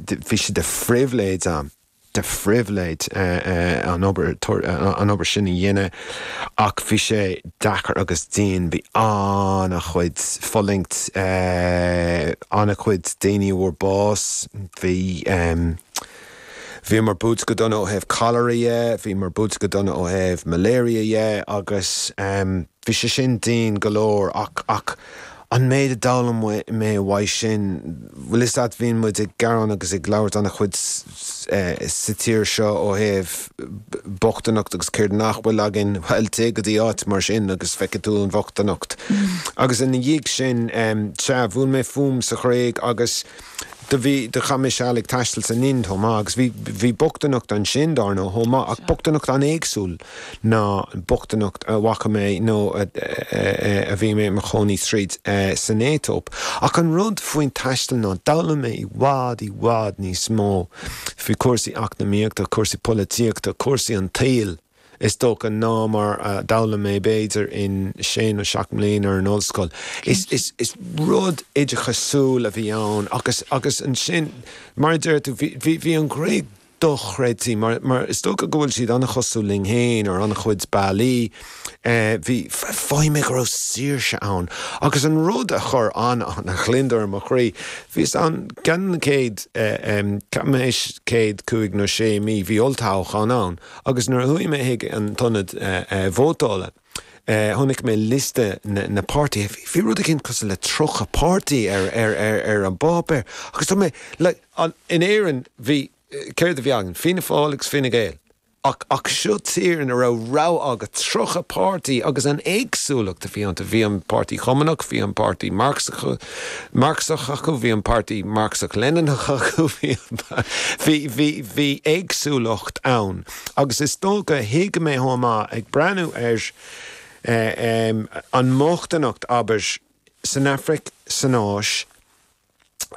bhí sé de phribhléid a'm, de phribhléid an obair, an obair sin a dhéanamh ach bhí sé deacair agus dian, bhí an-chuid fulaingt, an-chuid daoine a bhfuair bás, bhí, bhíomar buailte go dona ó thaobh cholera dhe, bhíomar buailte go dona ó thaobh malaria dhe agus. Bhí sé sin dian go leor ach, ach an méid a d'fhoghlaim mé uaidh sin, bhfuil fhios a't, bíonn muid ag gearán agus ag labhairt an-chuid sa tír seo ó thaobh bochtaineacht agus céard nach bhfuil againn, bhuel, téigh go dtí áit mar sin agus feicfidh tú an bhochtaineacht. Agus ina dhiaidh sin, sea, bhuail mé fúm sa Ghréig agus do bhí, do chaith mé seal ag taisteal san Ind chomh maith agus bhí, bhí bochtaineacht ansin, dár ndóigh, chomh maith ach bochtaineacht an-éagsúil. ná bochtaineacht a bhfaca mé nó a bhí mé i mo chónaí tríd san Aetóip. Ach an rud faoin taisteal ná d'fhoghlaim mé i bhfad, i bhfad níos mó faoi chúrsaí eacnamaíochta, cúrsaí polaitíochta, cúrsaí an tsaoil, is dócha, ná mar a d'fhoghlaim mé b'fhéidir in sé nó seacht mbliana ar an ollscoil. Is, is rud oideachasúil a bhí ann agus, agus ansin, mar a deir tú, bhí, bhí, bhí an Ghréig dochreidte, mar, mar is dócha go bhfuil siad an-chosúil linn féin ar an-chuid bealaí. Bhí, mhothaigh mé go raibh saoirse ann. Agus an rud a chuir an-an-ghliondar ar mo chroí, bhíos ann ceann de na chéad, ceapaim théis chéad cúig nó sé mí, bhí olltoghchán ann agus nuair a chuaigh mé chuig an t-ionad vótála, chonaic mé liosta na páirtithe, bhí rud éicint cosúil le 30 páirtí ar, ar, ar, ar an bpáipéar agus tá mé, like, An, in Éirinn, bhí, céard a bhí againn? Fianna Fáil agus Fine Gael. Ach, ach seo tír ina raibh rogha agat, 30 páirtí agus an éagsúlacht a bhí iontu. Bhí an Páirtí Chumannach, bhí an Páirtí Marxach, Marxach acu, bhí an Páirtí Marxach-Leninach acu, bhí an, bhí, bhí, bhí éagsúlacht ann. Agus is dócha, thuig mé chomh maith, ag breathnú ar eh, an mbochtaineacht, abair, san Afraic, san Áis,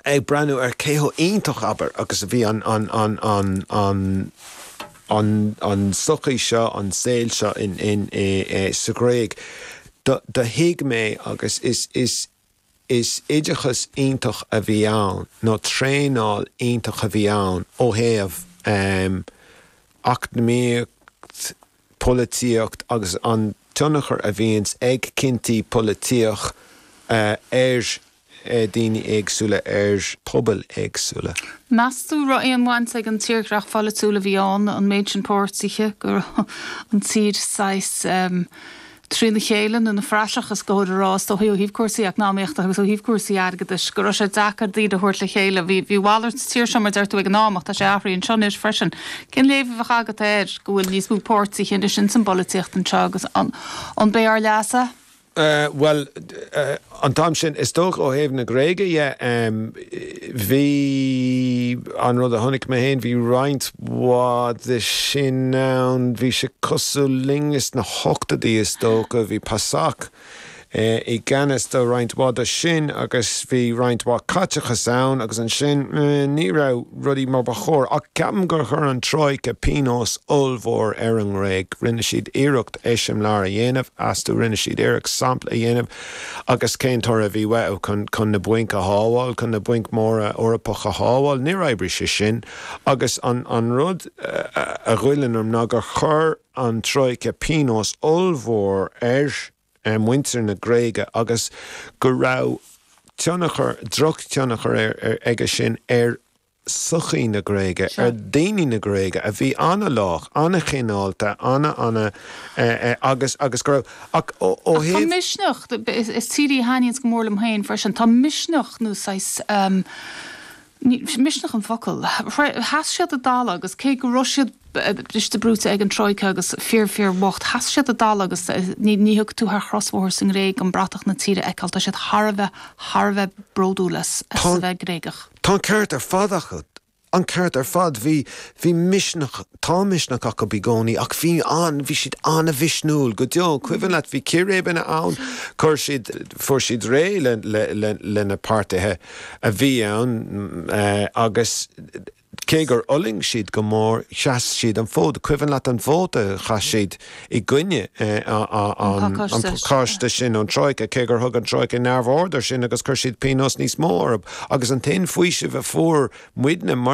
ag breathnú ar cé chomh iontach, abair, agus a bhí an, an, an, an, an, an, an tsochaí seo, an saol seo in, in, i, sa Ghréig, do, do thuig mé agus is, is, is oideachas iontach a bhí ann, nó traenáil iontach a bhí ann ó thaobh ehm, eacnamaíocht, polaitíocht agus an tionchar a bhíonns ag cinntí polaitíoch ar daoine éagsúla, ar pobail éagsúla. Meas tú raibh aon bhaint ag an tírdhreach pholaitiúil a bhí ann, an méid sin páirtithe, go raibh an tír saghas trína chéile nó ina phraiseach is cóir a rá, is dóigh, ó thaobh cúrsaí eacnamaíochta agus ó thaobh cúrsaí airgeadais, go raibh sé deacair daoine a thabhairt le chéile. Bhí bhí a mhalairt sa tír seo, mar deir tú, ag an am, ach tá sé athraithe anseo anois freisin. Cén léamh a bheadh agat air go bhfuil níos mó páirtithe anois ins an bpolaitíocht anseo agus an an b'é ár leas é? Bhuel, an t-am sin, is dócha ó thaobh na Gréige dhe, bhí, an rud a chonaic mé féin, bhí roinnt mhaith de sin ann, bhí sé cosúil linne sna hochtóidí is dócha, bhí PASOK i gceannas do roinnt mhaith de sin agus bhí roinnt mhaith caiteachas ann agus ansin ní raibh rudaí mar ba chóir. Ach ceapaim gur chuir an Troika pionós ollmhór ar an nGréig. Rinne siad iarracht eiseamláir a dhéanamh astu, rinne siad iarracht sampla a dhéanamh agus cén toradh a bhí uathu? Chun, chun na bainc a shábháil, chun na bainc mhóra Eorpacha a shábháil? Níor oibrigh sé sin agus an, an rud a ghoilleann orm ná gur chuir an Troika pionós ollmhór ar muintir na Gréige agus go raibh tionchar, drochthionchar aige sin ar sochaí na Gréige, ar daoine na Gréige a bhí an-lách, an-chineálta, an-, an-, agus, agus go raibh, ach ó Ach tá thaobh. misneach, is tír í a thaitníonns go mór liom féin freisin, tá misneach nó saghas, Ní, misneach an focal. Sheas siad a dtalamh agus cé go raibh siad briste brúite ag an Troika agus fíor fíor bhocht, sheas siad a dtalamh agus ní, ní thiocfaidh tú thar chrosbhóthar sa nGréig gan bratach na tíre a fheiceáil. Tá siad thar a bheith, thar a bheith bródúil as, as a bheith Gréigeach. Tá an ceart ar fad acu. An ceart ar fad. Bhí, bhí misneach, tá misneach acu i gcónaí ach bhí an, bhí siad an-mhisniúil go deo. Cuimhin leat, bhí círéibeanna ann, chuir siad, fuair siad réidh le, le, le, le na páirtithe. a bhí ann agus cé gur fhulaing siad go mór, sheas siad an fód. Cuimhin leat an vóta a chaith siad i gcoinne an pacáiste sin ón Troika, cé gur thug an Troika neamhaird air sin agus chuir siad pionós níos mó orthu. Agus an t-aon faoiseamh a fuair muidne mar.